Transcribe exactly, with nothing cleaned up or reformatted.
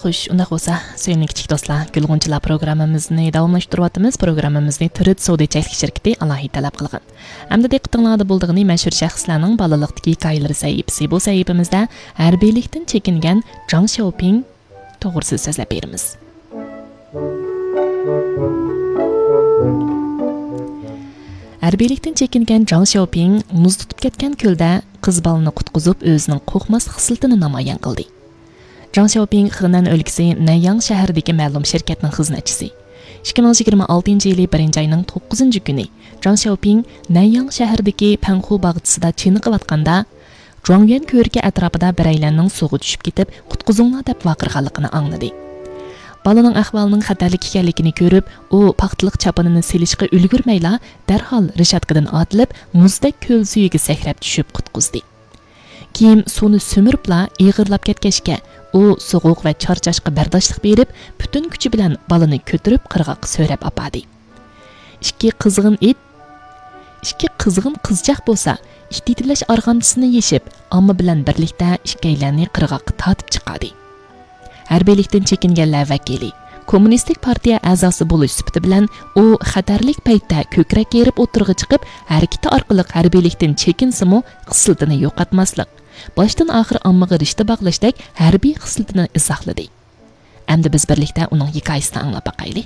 خوش، ئۇنداق بولسا، سۆيۈملۈك كىچىك دوستلار، گۈلغۇنچىلار پروگراممىمىزنى داۋاملاشتۇرۇۋاتىمىز. پروگراممىمىزنى تۈرۈت سودا چەكلىك شىركىتى ئالاھىدە تەلەپ قىلغان. ئەمدى دىققىتىڭلاردا بولىدىغىنى مەشھۇر شەخسلەرنىڭ بالىلىقتىكى ھېكايىلىرى سەھىپىسى. بۇ سەھىپىمىزدە ھەربىيلىكتىن چېكىنگەن جاڭ شياۋپىڭ توغرىسىدا سۆزلەپ بېرىمىز. ھەربىيلىكتىن چېكىنگەن جاڭ شياۋپىڭ مۇز تۇتۇپ كەتكەن كۆلدە قىز بالىنى قۇتقۇزۇپ، ئۆزىنىڭ قورقماسلىق خىسلىتىنى نامايان قىلدى. جاڭ شياۋپىڭ خېنەن ئۆلكىسى نەنياڭ شەھىرىدىكى مەلۇم شىركەتنىڭ خىزمەتچىسى. ئىككى مىڭ يىگىرمە ئالتىنچى يىلى بىرىنچى ئاينىڭ توققۇزىنچى كۈنى جاڭ شياۋپىڭ نەنياڭ شەھىرىدىكى پەنخۇ باغچىسىدا چېنىقىۋاتقاندا، جۇاڭيۈەن كۆۋرۈكى ئەتراپىدا بىرەيلەننىڭ سۇغا چۈشۈپ كېتىپ، قۇتقۇزۇڭلار دەپ ۋارقىرىغانلىقىنى ئاڭلىدى. بالىنىڭ ئەھۋالىنىڭ خەتەرلىك ئىكەنلىكىنى كۆرۈپ، ئۇ پاختىلىق چاپىنىنى سېلىشقا ئۈلگۈرمەيلا، دەرھال رېشاتكىدىن ئاتلىپ، مۇزدەك كۆل سۈيىگە سەكرەپ چۈشۈپ قۇتقۇزدى. كېيىن سۇنى سۈمۈرۈپلا ئېغىرلاپ كەتكەچكە، ئۇ سوغۇق ۋە چارچاشقا بەرداشلىق بېرىپ، پۈتۈن كۈچى بىلەن بالىنى كۆتۈرۈپ قىرغاققا سۆرەپ ئاپاردى. ئىككى قىزغىن ئىت، ئىككى قىزغىن قىزچاق بولسا، ئىت يېتىلەش ئارغامچىسىنى يېشىپ، ئامما بىلەن بىرلىكتە ئىككىيلەننى قىرغاققا تارتىپ چىقاردى. ھەربىيلىكتىن چېكىنگەنلەر ۋەكىلى، كوممۇنىستىك پارتىيە ئەزاسى بولۇش سۈپىتى بىلەن ئۇ خەتەرلىك پەيتتە كۆكرەك كېرىپ ئوتتۇرىغا چىقىپ، ھەرىكىتى ئارقىلىق ھەربىيلىكتىن چېكىنسىمۇ، خىسلىتىنى يوقاتماسلىق، باشتىن ئاخىر ئاممىغا رىشتە باغلاشتەك ھەربىي خىسلىتىنى ئىزاھلىدى. ئەمدى بىز بىرلىكتە ئۇنىڭ ھېكايىسىنى ئاڭلاپ باقايلى.